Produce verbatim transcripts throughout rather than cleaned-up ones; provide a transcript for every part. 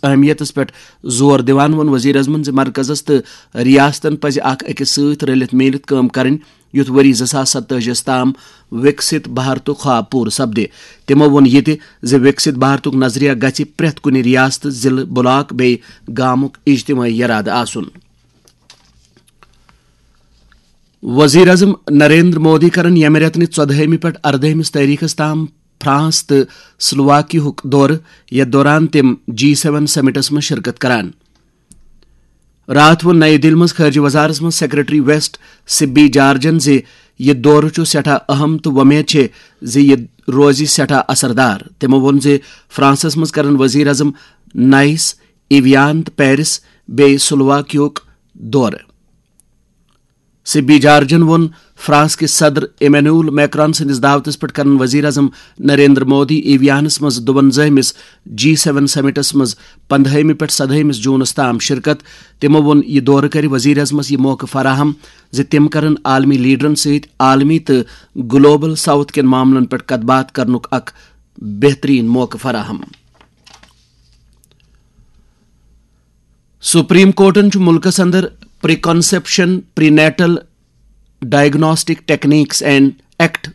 اہمیتس پٮ۪ٹھ زور دِوان ووٚن وزیر اعظمن زِ مرکزس تہٕ ریاستن پزِ اکھ أکِس سۭتۍ رٔلِتھ میٖلِتھ کٲم کرٕنۍ، یُتھ ؤری زٕ ساس ستٲجی تام وِکسِت بھارتُک خواب پوٗرٕ سپدِ۔ تِمو ووٚن یہِ تہِ زِ وِکسِت بھارتُک نظریہ گژھِ پرٛٮ۪تھ کُنہِ ریاستہٕ، ضلعہٕ، بلاک بیٚیہِ گامُک اجتمٲعی اِرادٕ آسُن۔ وزیر اعظم نریندر مودی کرن ییٚمہِ رٮ۪تہٕ نہِ ژۄدہٲیمہِ پٮ۪ٹھ اردٲہمِس تٲریخس تام فرانس تہٕ سلوواکیہُک دورٕ، یتھ دوران تِم جی سیون سمٹس منٛز شرکت کران۔ راتھ ووٚن نئی دِلہِ منٛز خارجہ وزارتس منٛز سیکرٹری ویسٹ سبی جارجن زِ یہِ دورٕ چھُ سٮ۪ٹھاہ اہم تہٕ وۄمید چھِ زِ یہِ روزِ سٮ۪ٹھاہ اثردار۔ تِمو ووٚن زِ فرانسس منٛز کرن وزیر اعظم نائس، ایویان تہٕ پیرس بیٚیہِ سلوواکیہُک دورٕ۔ سبی جارجن ووٚن، فرانس کِس صدر ایمینول میکران سٕنٛدِس دعوتس پٮ۪ٹھ کرن وزیر اعظم نریندر مودی ایویانس منٛز دُوَنزٲہمِس جی سیون سمٹس منٛز پندہٲیمہِ پٮ۪ٹھ سدہٲیمِس جوٗنس تام شرکت۔ تِمو ووٚن، یہِ دورٕ کرِ وزیر اعظمس یہِ موقعہٕ فراہم زِ تِم کرن عالمی لیڈرن سۭتۍ عالمی تہٕ گلوبل ساؤتھ کٮ۪ن معاملن پٮ۪ٹھ کتھ باتھ کرنُک اکھ بہترین موقعہٕ فراہم۔ سپریم کورٹن چھُ مُلکَس اندر pre conception pre natal diagnostic techniques and act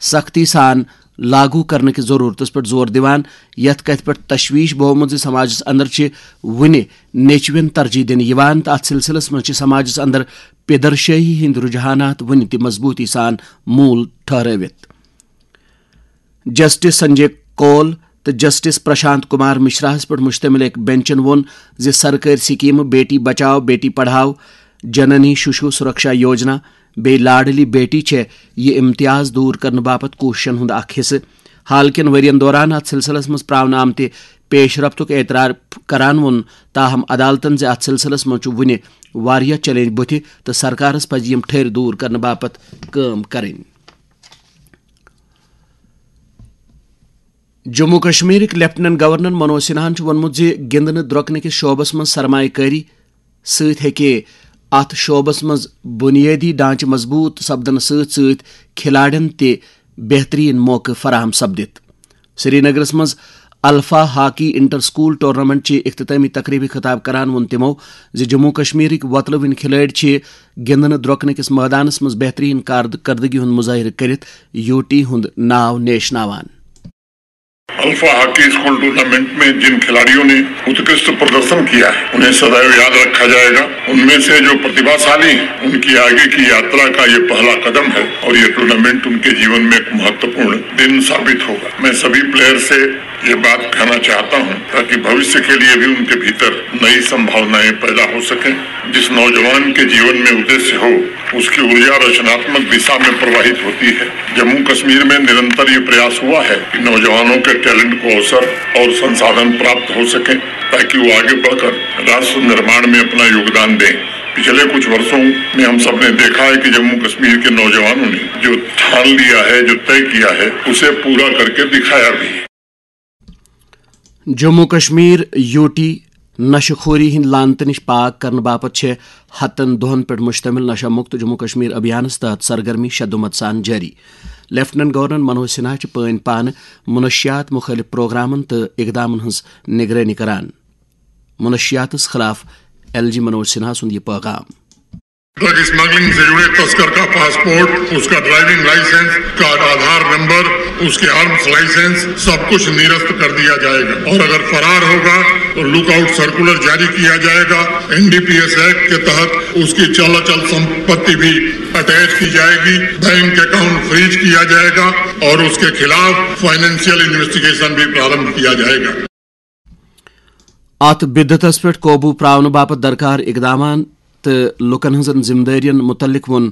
سختی سان لاگو کرنہٕ کِس ضروٗرتَس پٮ۪ٹھ زور دِوان، یَتھ کَتھِ پٮ۪ٹھ تشویش بہومُت زِ سماجَس اندر چھِ وُنہِ نیچوٮ۪ن ترجیح دِنہٕ یِوان تہٕ اَتھ سلسلس منٛز چھِ سماجَس اندر پیدرشٲہی ہٕنٛدۍ رجحانات وُنہِ تہِ مضبوٗطی سان موٗل ٹھہرٲوِتھ۔ جسٹس سنجے کول تہٕ جسٹس پرشانت کمار مشراہس پٮ۪ٹھ مشتمل أکۍ بینچن ووٚن زِ سرکٲرۍ سکیمہٕ بیٹی بچاؤ، بیٹی پڑھاؤ، جننی ششو سرکشا یوجنا بیٚیہِ لاڈلی بیٹی چھےٚ یہِ امتیاز دوٗر کرنہٕ باپتھ کوٗششن ہُنٛد اکھ حصہٕ۔ حال کٮ۪ن ؤرین دوران اتھ سلسلس منٛز پراونہٕ آمتہِ پیش رفتُک اعتراف کران ووٚن، تاہم عدالتن زِ اتھ سلسلس منٛز چھُ وُنہِ واریاہ چیلنج بُتھِ تہٕ سرکارس پزِ یِم ٹھٔرۍ دوٗر کرنہٕ باپتھ کٲم کرٕنۍ۔ جموں کشمیرٕکۍ لیفٹیننٹ گورنر منوج سنہاہن چھُ ووٚنمُت زِ گِنٛدنہٕ درۄکنہٕ کِس شعبس منٛز سرمایہ کٲری سۭتۍ ہیٚکہِ اتھ شعبس منٛز بنیٲدی ڈھانچہٕ مضبوٗط سپدنہٕ سۭتۍ سۭتۍ کھلاڑٮ۪ن تہِ بہترین موقعہٕ فراہم سپدِتھ۔ سرینگرس منٛز alpha hockey inter school tournament چہِ اختتامی تقریبہِ خطاب کران ووٚن تِمو زِ جموں کشمیرٕکۍ وۄتلہٕ وٕنۍ کھلٲڑۍ چھِ گِنٛدنہٕ درۄکنہٕ کِس مٲدانس منٛز بہترین کارکردگی ہُنٛد مظٲہرٕ کٔرِتھ یوٗٹی ہُنٛد ناو نیشناوان۔ अल्फा हॉकी स्कूल टूर्नामेंट में जिन खिलाड़ियों ने उत्कृष्ट प्रदर्शन किया है, उन्हें सदैव याद रखा जाएगा। उनमें से जो प्रतिभाशाली हैं, उनकी आगे की यात्रा का ये पहला कदम है और ये टूर्नामेंट उनके जीवन में एक महत्वपूर्ण दिन साबित होगा। मैं सभी प्लेयर से ये बात कहना चाहता हूं, ताकि भविष्य के लिए भी उनके भीतर नई संभावनाएं पैदा हो सकें। जिस नौजवान के जीवन में उद्देश्य हो, उसकी ऊर्जा रचनात्मक दिशा में प्रवाहित होती है। जम्मू कश्मीर में निरंतर ये प्रयास हुआ है कि नौजवानों के टैलेंट को अवसर और संसाधन प्राप्त हो सके, ताकि वो आगे बढ़कर राष्ट्र निर्माण में अपना योगदान दें। पिछले कुछ वर्षों में हम सबने देखा है कि जम्मू कश्मीर के नौजवानों ने जो ठान लिया है, जो तय किया है, उसे पूरा करके दिखाया भी है। جموں کشمیر یوٗٹی نشہٕ خوری ہٕنٛدۍ لعنتہٕ نِش پاک کرنہٕ باپتھ چھےٚ ہتن دۄہن پٮ۪ٹھ مشتمل نشہ مکت جموں کشمیر ابھیانس تحت سرگرمی شدومت سان جٲری۔ لیفٹیننٹ گورنر منوج سنہا چھِ پٲنۍ پانہٕ منشیات مُخٲلف پروگرامن تہٕ اقدامن ہٕنٛز نگرٲنی کران۔ منشیاتس خلاف ایل جی منوج سنہا سُنٛد یہِ پیغام۔ ड्रग स्मगलिंग से जुड़े तस्कर का पासपोर्ट, उसका ड्राइविंग लाइसेंस, उसका आधार नंबर, उसके आर्म्स लाइसेंस, सब कुछ निरस्त कर दिया जाएगा और अगर फरार होगा तो लुकआउट सर्कुलर जारी किया जाएगा। एनडीपीएस एक्ट के तहत उसकी चल अचल संपत्ति भी अटैच की जाएगी, बैंक अकाउंट फ्रीज किया जाएगा और उसके खिलाफ फाइनेंशियल इन्वेस्टिगेशन भी प्रारंभ किया जाएगा। اتھ بدعتس پٮ۪ٹھ قوبو پراونہٕ باپتھ درکار اقدامات تہٕ لوٗکن ہٕنٛزن ذمہٕ دٲرین مُتعلق ووٚن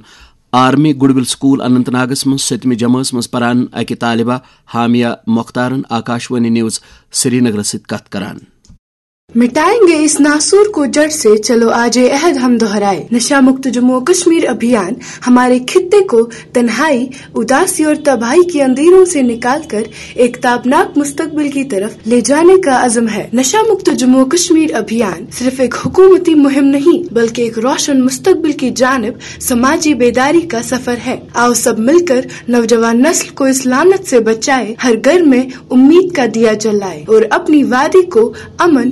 آرمی گڈ ول سکول اننت ناگس منٛز سٔتمہِ جمٲژ منٛز پران اکہِ طالبہ حامیہ مختارن آکاشوانی نیوز سرینگرس سۭتۍ کتھ کران۔ मिटाएंगे इस नासूर को जड़ से, चलो आज ये अहद हम दोहराए। नशा मुक्त जम्मू कश्मीर अभियान हमारे खित्ते को तन्हाई, उदासी और तबाही के अंधेरों से निकालकर एक ताबनाक मुस्तकबिल की तरफ ले जाने का अज़म है। नशा मुक्त जम्मू कश्मीर अभियान सिर्फ एक हुकूमती मुहिम नहीं, बल्कि एक रोशन मुस्तकबिल की जानिब समाजी बेदारी का सफर है। आओ सब मिलकर नौजवान नस्ल को इस लानत से बचाए, हर घर में उम्मीद का दिया जलाए और अपनी वादी को अमन